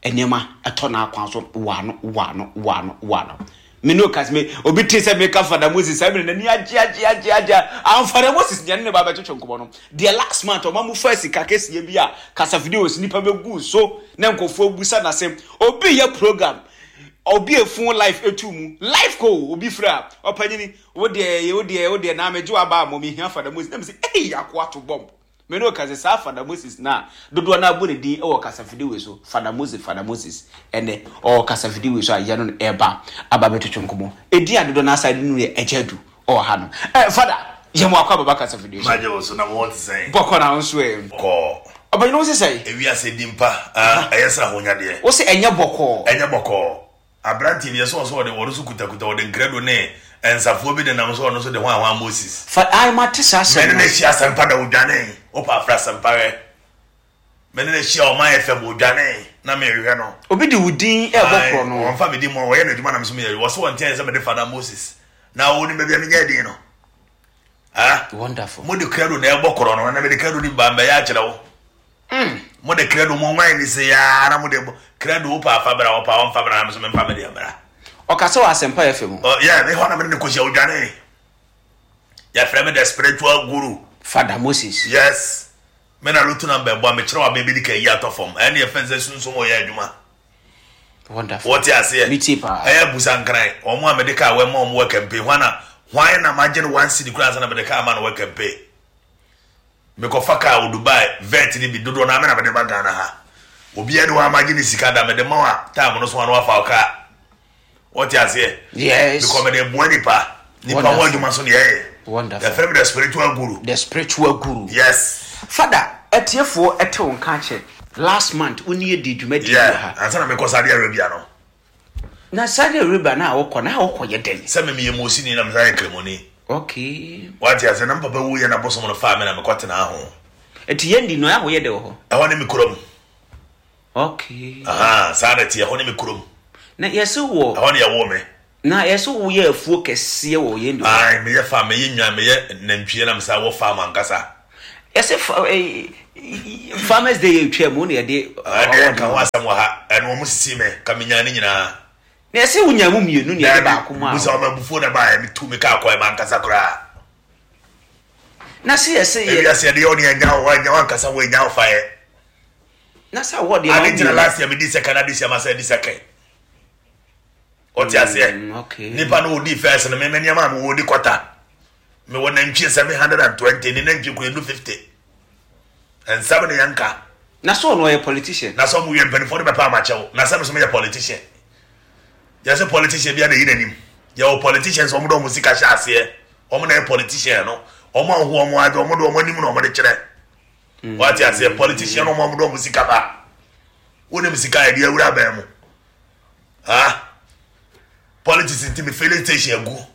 a nneɛma tɔ n'akwan so waano waano waano waano. Me ne ɔka me obi te sɛ meka Fada Moses saa mmerɛ n'ani agye agye agye agye a Fada Moses deɛ ne ne ba bɛtwetwe nkɔmmɔ no deɛ last month ɔma mo fa sika kɛseɛ bi a kasafidie wɔ so nipa bɛgu so na nkurɔfoɔ busa n'asɛm obi yɛ program obi efun life etu mu life ko obi frɛ a ɔpanyini Wo deɛ wo deɛ wo deɛ naa megye w'aba a mmɔ mehia Fada Moses na mese ei akoa to bomb me ne wo ka sɛ saa Fada Moses no a dodoɔ no abɔ ne din wɔ kasafidi wei so Fada Moses Fada Moses ɛnɛ ɔwɔ kasafidi wei so a yɛno no ɛba aba bɛtwetwe nkɔmmɔ ɛdin a dodoɔ no asa de no yɛ Agya Adu ɔwɔ ha no eh Fada yɛ mo akɔ ababa kasafidi so Magye wo so na mo ho te sɛn? Bɔkɔ na wo nso ɛ? Bɔkɔɔ. Ɔpanyin wo se sɛn? Ewiase din pa ah ɛyɛ sɛ ahonyadeɛ. Wo se ɛnyɛ bɔkɔɔ. Ɛnyɛ bɔkɔɔ. Aberanteɛ bi, ɛsɛ ɔsɛ ɔde ɔno nso kutakuta ɔde nkrado ne nsafoɔ bi nenam so ɔno nso de hwan hwan Moses. Fa ae mate saa asɛm no. Mene no hyia asɛmpa da odwanee wopɛ afrɛ asɛmpa hwɛ mene no hyia ɔman FM odwanee na mehwehwɛ no. Obi de wo din ɛbɔ korɔ no. Wɔnfa me din mu ɔyɛ n'adwuma na me nso meyɛ wɔ so wɔn nkyɛn sɛ mede Fada Moses na wɔnim baabi a menya din no. Ah, Wonderful. Mo de krado na ɛbɔ korɔ no na mede krado ni ba mbɛyɛ akyerɛ wo. Mm. Mo de krado mo nwan ni se ya na mo de krado wo pa afa bra wo pa wɔmfa bra na me so memfa me de bra. Ɔkasa wɔ Asɛmpa FM. Oh yeah, me hɔ na me ne kɔhyia odwane. Yɛfrɛ me the spiritual guru. Father Moses. Yes. Me na lotu na mbɛbɔ a mekyerɛ wa baabi de ka yi atɔ fam. Ɛne yɛfɛn sɛ sunsum ɔyɛ adwuma. Wonderful. Wɔte aseɛ. Metie paa. Ɛyɛ busa nkran. Wɔn a mede kaa wɔn ma wɔn wɔ kɛmpe. Hwan na hwan na magye no one cedi koraa ansa na mede kaa ma no wɔ kɛmpe. Mekɔfa kaa wɔ Dubai vet no bi dodoɔ no amena mede ba Ghana ha. Obiara ni hɔ a magye ne sika da mede ma wo a time no so a na wafa wo kaa. Wɔte aseɛ. Yes. Because mede boa nipa. Nipa ho adwuma so na yɛyɛ. Wonderful. Yɛfrɛ me the spiritual guru. The spiritual guru. Yes. Father, atiefoɔ ɛte wo nka akyɛ. Last month wo ne yɛ dii dwumadie bi wɔ ha. Yeah, ansa na mekɔ Saudi Arabia no. Na Saudi Arabia no a wokɔ no, a wokɔ yɛ dɛn? Sɛ me meyɛ Mosini na mesan yɛ Kramoni. Okay. Wate aseɛ, na me papa wuiɛ na bosom no faa me na mekɔ tenaa ho. Eti yɛn di no, a woyɛ dɛ wɔ hɔ? Ɛhɔ ne me kurom. Okay. Ahaa, saa na ɛteɛ, ɛhɔ ne me kurom. Na yɛse wɔ. Ɛhɔ ne yɛwoo me. Na yɛse woyɛ afuo kɛseɛ wɔ yɛn di hɔ. Ae, meyɛ farm, meyɛ nnwan, meyɛ nantwie na mesan wɔ farm ankasa. Yɛsɛ fa eh, farmers day yɛ twɛ mu na yɛde. Ɛdeɛ nka ho asɛm wɔ ha ɛno wɔn sisi me ka me nyaa ne nyinaa. Na yɛsɛ wonya mu mmienu na yɛde baako mu a. Busa wɔn abufuo na baayɛ me tu me kaa kɔɛ ma ankasa koraa. Na sɛ yɛsɛ yɛ. Ebi ase yɛde yɛ ɔne ɛnya wɔ ɛnya wɔn ankasa wɔ ɛnya ɔfa yɛ. Na sɛ awɔ deɛ ma Adi ntina last year me di second adi si ama sɛ di second. Ɔte aseɛ. Mm, Nipa no odi first no me me nneɛma a me wɔ di kɔta. Mewɔ nantwie 720 ne nantwie kura enu 50. Nsɛm ne yɛn ka. Na sɛ ɔno ɔyɛ politician. Na sɛ ɔmo wie mpanimfoɔ no bɛpa amakyɛw. Na sɛ me so meyɛ politician. Yɛsɛ politician bi a na eyi n'anim. Yɛwɔ politicians ɔmo de ɔmo sika hyɛ aseɛ. Ɔmo na yɛ politician no. Ɔmo a ɔho ɔmo adze ɔmo de ɔmo anim na ɔmo de kyerɛ. Mm. Wate aseɛ politician ɔmo ɔmo de ɔmo sika ba. Wonim sika yɛde awura bɛn mu. Ah politics nti me filling station agu.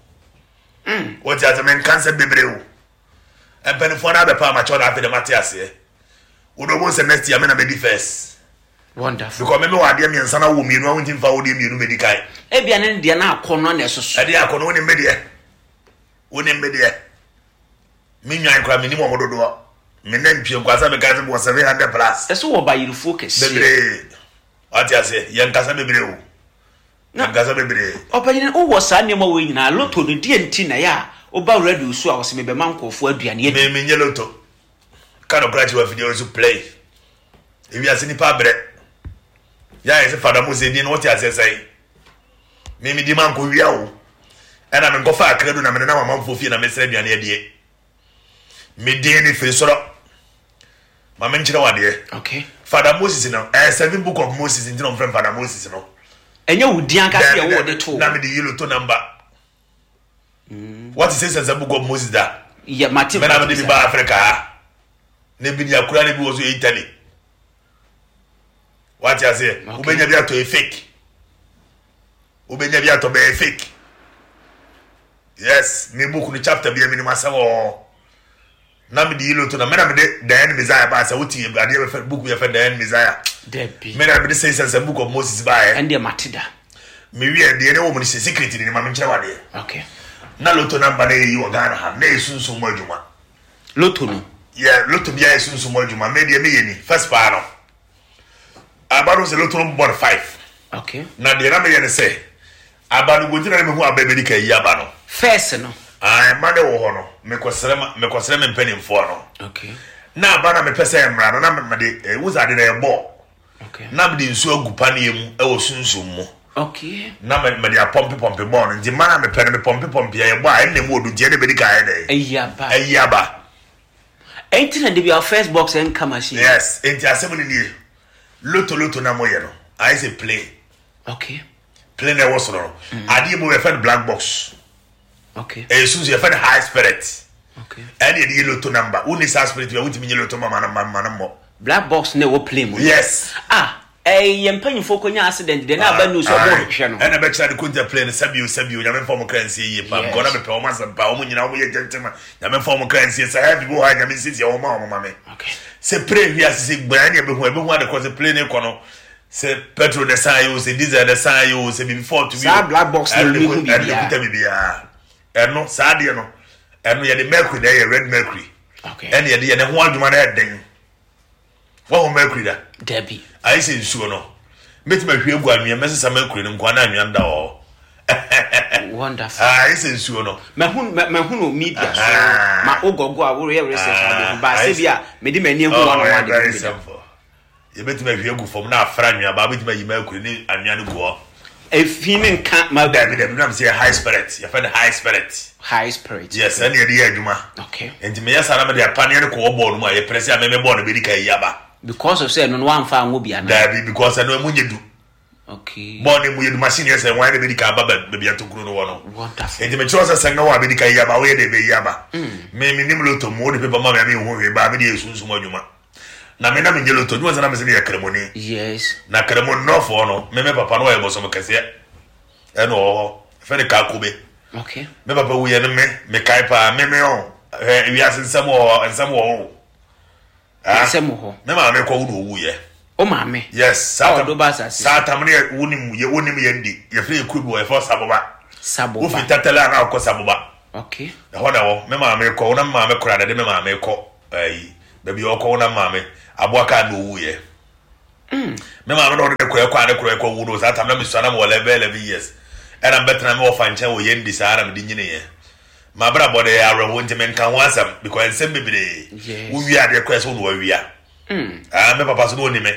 Mm. Wote ase menka nsɛm bebree o. Mpanimfoɔ no abɛpa amakyɛw na afei de mate aseɛ. Wode wobɛhu sɛ next year me na mɛdi first. Wonderful. Because me mewɔ adeɛ mmiɛnsa na wowɔ mmienu a wontumi mfa wo deɛ mmienu mɛdi kan. Ebia ne deɛ na akɔnnɔ na ɛsoso. Ɛdeɛ akɔnnɔ wonim me deɛ. Wonim me deɛ. Me nwan koraa menim wɔn dodoɔ. Me nantwie nkoa sɛ meka sɛ mewɔ 700 plus. Ɛso wɔ bayerefuo kɛseɛ. Bebree. Wate aseɛ yɛnkasa bebree o. Na Nkasa bebree. Ɔpanyin wowɔ saa nneɛma wei nyinaa, lotto no deɛ nti na ɛyɛ a woba radio so a wɔsɛ mebɛma nkurɔfoɔ aduane adi? Me menyɛ lotto. Ka nokora kyerɛ w'afidie nso play. Ewiase nipa abrɛ. Yɛ a yɛsɛ Fada Mose din no wote aseɛ sɛn? Me medi ma nkɔ wia o. Ɛna me nkɔfa akra du na me nenam amanfoɔ fie na mesrɛ aduane adie. Me din no firi soro. Ma me nkyerɛ wo adeɛ. Okay. Father Moses no, ɛyɛ seven book of Moses nti na wɔfrɛ Father Moses no. Ɛnyɛ wo din ankasa yɛ wo de to. Na me de yi loto number. Mm. What is this seven book of Moses da? Yeah, mate. Me na me de bi ba Africa ha. Ne bi ni akura ne bi wɔ so Italy. What you say? Wobɛnya bi atɔ yɛ fake. Wobɛnya bi atɔ bɛyɛ fake. Yes, me book no chapter bi a menim asɛm wɔ hɔ. Na mede yi loto na me na mede Diane Messiah baa sɛ wote adeɛ bɛfɛ book bi yɛfɛ Diane Messiah. Dabi. Me na mede sɛ sɛ book of Moses baeɛ. Ɛndeɛ mate da. Me wie deɛ ne wɔ mu no sɛ secret ni ma menkyerɛ wadeɛ. Okay. Na loto number na yɛyi wɔ Ghana ha na yɛ sunsum mu adwuma. Loto no. Yeah, loto bi ayɛ sunsum mu adwuma. Me deɛ meyɛ ni first paa no. Aba no sɛ loto no bɔ no five. Okay. Na deɛ na meyɛ ne sɛ aba no gonti na mehu aba bɛdi ka yi aba no. First no. Ah, mma ne wɔ hɔ no mekɔsrɛ ma mekɔsrɛ me mpanimfoɔ no. Okay. Na aba na mepɛ sɛ mmara no na mede eh, wusa ade na ɛbɔ. Okay. Na mede nsuo agu paneɛ mu ɛwɔ sunsum mu. Okay. Na mede apɔmpe pɔmpe bɔɔ no nti mma na mepɛ no mepɔmpe pɔmpe a ɛbɔ a ɛnna mu odu nti ɛna bɛdi ka ayɛ dɛ. Ayi aba. Ayi aba. Enti na dabi our first box ɛnka machine. Yes, enti asɛm no nie. Loto loto na moyɛ no, ayɛ sɛ plane. Okay. Plane na ɛwɔ soro no. Mm. Adeɛ mu yɛfɛ no black box. Okay. Ɛyɛ sunsun yɛfɛ no high spirit. Okay. Ɛne yɛde yɛ loto number. Wonni saa spirit bi a wontumi nye loto mama no mama no mmɔ. Black box na ɛwɔ plane mu. Yes. Ah, Ɛɛ yɛn mpanyinfoɔ kɔ nya accident deɛ na aba news ɔmo hwehwɛ no. Ɛna bɛkyerɛ ade konta plane no sɛbio sɛbio nyame nfa ɔmo kra nsie yie paa because na mepɛ ɔmo asɛm paa ɔmo nyinaa ɔmo yɛ gentleman nyame nfa ɔmo kra nsie sɛ heavy bi wɔ hɔ a nyame nsiesie ɔmo ma ɔmo ma me sɛ plane hwi ase sɛ gbaa ne ɛbɛhu ɛbɛhu ade kɔ sɛ plane kɔ no sɛ petrol na ɛsan ayɛ o sɛ diesel na ɛsan ayɛ o sɛ biribi fault bi o saa black box na ɛmu hu biribiara ɛno kuta biribiara ɛno saa adeɛ no ɛno yɛde mercury na ɛyɛ red mercury ɛne yɛde yɛ ne ho adwuma na ɛden Woahu mercury da? Dabi. Ayɛ sɛ nsuo no. Mɛtumi ahwie agu anwea, mɛsesa mercury no nkoa na anwea no da hɔ. Wonderful. Ah, ayɛ sɛ nsuo no. Mahu mahu no media so. Ma wo gɔgo a woreyɛ research ade ho ba sɛ bi a mede m'ani ahu one on one de very simple. Yɛbɛtumi ahwie agu fam na afra anwea ba wobɛtumi ayi mercury ne anwea no gu hɔ. Efi ne nka ma. Dabi dabi nam sɛ yɛ high spirit yɛfɛ no high spirit. High spirit. Yes ɛne yɛde yɛ adwuma. Okay. Nti meyɛ saa na mede apaneɛ no kɔwɔ bɔɔl no mu a yɛpere sɛ a meme bɔɔl no bɛdi ka yi aba. Because of sɛ ɛno no wamfa anwo bi anaa? Dabi because ɛno ɛmu nyɛ du. Okay. Bɔɔl no mu yɛ du machine yɛ sɛ wɔn na bɛdi ka aba baabi atokuro no wɔ no. Wonderful. Nti mekyerɛ sɛ sɛ nga wɔ a bɛdi ka yi aba woyɛ de bɛyi aba. Mm. Me menim loto mu wode paper ma me a menhu hwee baa mede yɛ sunsum adwuma. Na me na menyɛ loto adwuma sɛ na mese meyɛ kramoni. Yes. Na kramo nnɔfoɔ no me me papa no ɔyɛ bosom kɛseɛ ɛna ɔwɔ hɔ ɛfɛ ne kakobe. Okay. Me papa wuyɛ no me mekae paa me me ɔ hwɛ wiase nsɛm wɔ hɔ nsɛm wɔ hɔ o. Ah, nsɛm wɔ hɔ. Me maame kɔ wo na owu yɛ. O maame. Yes. Saa tam saa tam ne wonim yɛ wonim yɛn di yɛfrɛ yɛ kuro bi wɔ yɛfrɛ saboba. Saboba. Wofi tatale a na akɔ saboba. Okay. Ɛhɔ na ɛwɔ me maame kɔ wo na me maame kora na de me maame kɔ. Ayi. Baabi a ɔkɔwo na maame aboa kaa na owuiɛ. Me maame na ɔde ne korɛ kɔ a ne korɛ kɔ wu no saa tam na mesua na mewɔ 11 11 years. Ɛna mbɛtena me wɔfa nkyɛn wɔ yɛn di saa na mede nyiniiɛ. M'abrabɔ de ɛyɛ awerɛhoɔ nti menka ho asɛm because nsɛm bebree. Yes. Wowie adeɛ korɛ sɛ wo na wawia. Ah, me papa so na ɔni me.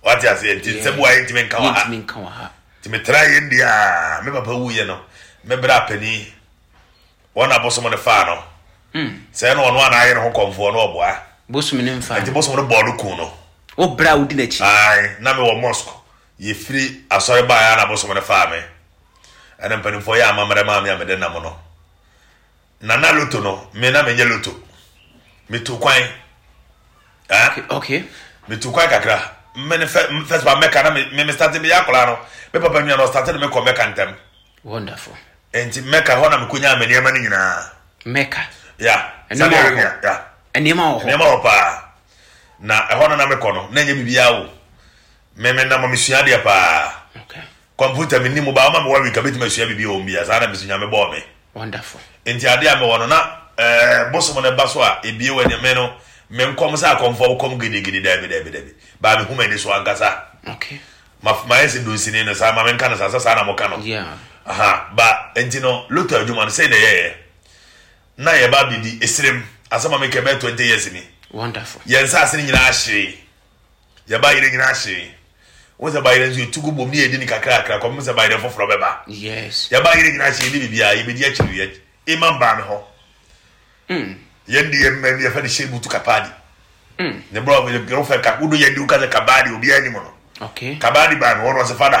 Wate aseɛ nti nsɛm wa yɛntumi nka wɔ ha. Yɛntumi nka wɔ ha. Nti metra yɛn di a me papa wuiɛ no me bra panin wɔn na bosom no faa no. Sɛ ɛna ɔno a na ayɛ ne ho kɔmfoɔ no ɔboa. Bosom no mfaa Nti no. bosom no bɔɔ no kun no. Wo bra a wodi n'akyi. Ae, na mewɔ mosque. Yɛfiri asɔre baeɛ a na bosom no faa me. Ɛna mpanimfoɔ yɛ amammerɛ maa me a mede nam no. Na na loto no, me na menyɛ loto. Metu kwan. Eh? Okay, okay. Metu kwan kakra. Me ne fɛ first ba Mecca na me me start me yɛ akwadaa no. Me papa nua no start de me kɔ Mecca ntɛm. Wonderful. Enti Mecca hɔ na mekonyaa me nneɛma no nyinaa. Mecca. Yeah. Nneɛma Saudi wɔ hɔ. Arabia. Yeah. Nneɛma wɔ hɔ. Nneɛma wɔ paa. Na ɛhɔ no na mekɔ no, na ɛnyɛ biribiara o. Me me nam mesua adeɛ paa. Okay. Kɔmputa menni mu ba, woma me one week a mɛtumi asua biribi wɔ mu biara. Saa na me so Nyame bɔɔ me. Wonderful. Nti adeɛ a mewɔ no na eh, bosom no ba so a ebie wɔ me no me nkɔm sɛ akɔmfoɔ kɔm gidigidi daabi daabi daabi. Baa mehu m'ani so ankasa. Okay. Ma mayɛ sɛ dunsini no saa ma menka no saa sɛ saa na moka no. Yeah. Aha, ba nti no loto adwuma no sei na ɛyɛyɛ. Na yɛba abɛdi esirem asɛm a meka bɛyɛ 20 years ni. Wonderful. Yɛn nsaase no nyinaa hyee. Yɛn bayerɛ nyinaa hyee. Wohu sɛ bayerɛ nso yɛtu gu bom ne yɛdi no kakrakra kɔpem sɛ bayerɛ foforɔ bɛba. Yes. Yɛn bayerɛ nyinaa hyee yɛdi biribiara yɛbɛdi akyiri yɛ imam baa me hɔ. Yɛn de yɛn mmɛn yɛfɛ no hyɛ butu kapadi. Ne brɔ yɛfɛ ka wodo yɛn di woka sɛ kabadi obiara anim no. Okay. Kabadi baa me hɔ no ɔsɛ fada.